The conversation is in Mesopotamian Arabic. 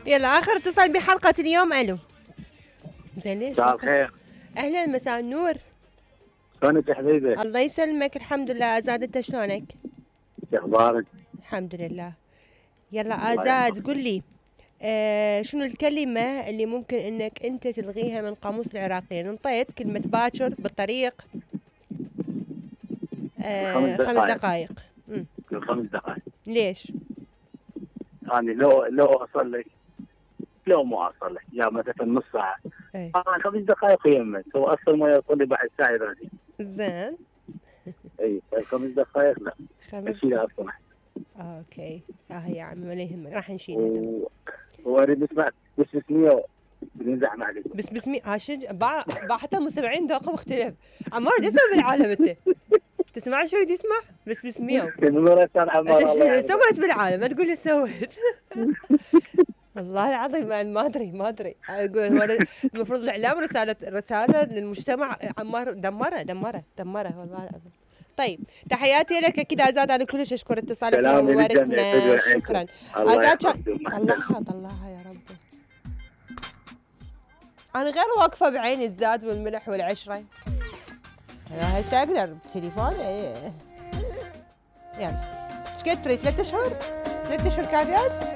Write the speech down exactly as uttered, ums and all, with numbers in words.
يلا اخر اتصال بحلقة اليوم. الو زين ليش؟ مساء الخير. اهلا مساء النور. شلونك يا حبيبي؟ الله يسلمك الحمد لله. ازاد انت شلونك؟ شو اخبارك؟ الحمد لله. يلا ازاد قل لي آه شنو الكلمة اللي ممكن انك انت تلغيها من قاموس العراقية؟ انطيت كلمة باكر بالطريق آه خمس خمس دقائق. دقائق. امم خمس دقائق. ليش؟ يعني لو لو اوصل لك لو مو اوصل لك يا مثلا نص ساعة. اي آه خمس دقائق يمك هو اصلا ما يوصل لي بعد ساعة يراجع. زين. اي خمس دقائق لا. خمس اشيلها اصلا. اوكي اه يا عمي ولا يهمك راح نشيلها. و... واريد اسمع بس بسمية بنزعم عليك. بس بسمي عاشج باع باع حتى المستمعين ذوقهم مختلف. عمار ايش تسوي بالعالم انت؟ تسمع شو يريد يسمع؟ بس بسمية. مرة كان عمار انت الله شو سويت بالعالم؟ ما تقول لي سويت. والله العظيم ما ما ادري ما ادري اقول هو المفروض الاعلام رساله رساله للمجتمع. عمار دمره دمره دمره والله العظيم. طيب تحياتي لك اكيد ازاد. انا كلش اشكر اتصالك سلام ومباركنا. للجميع. شكرا الله ازاد. يحفظكم. مع السلامة. طلعها طلعها يا ربي. انا غير واقفه بعين الزاد والملح والعشره. انا هسه اقدر بتليفوني. ايه يلا ايش قد تريد؟ ثلاث اشهر؟ ثلاث اشهر كافيات؟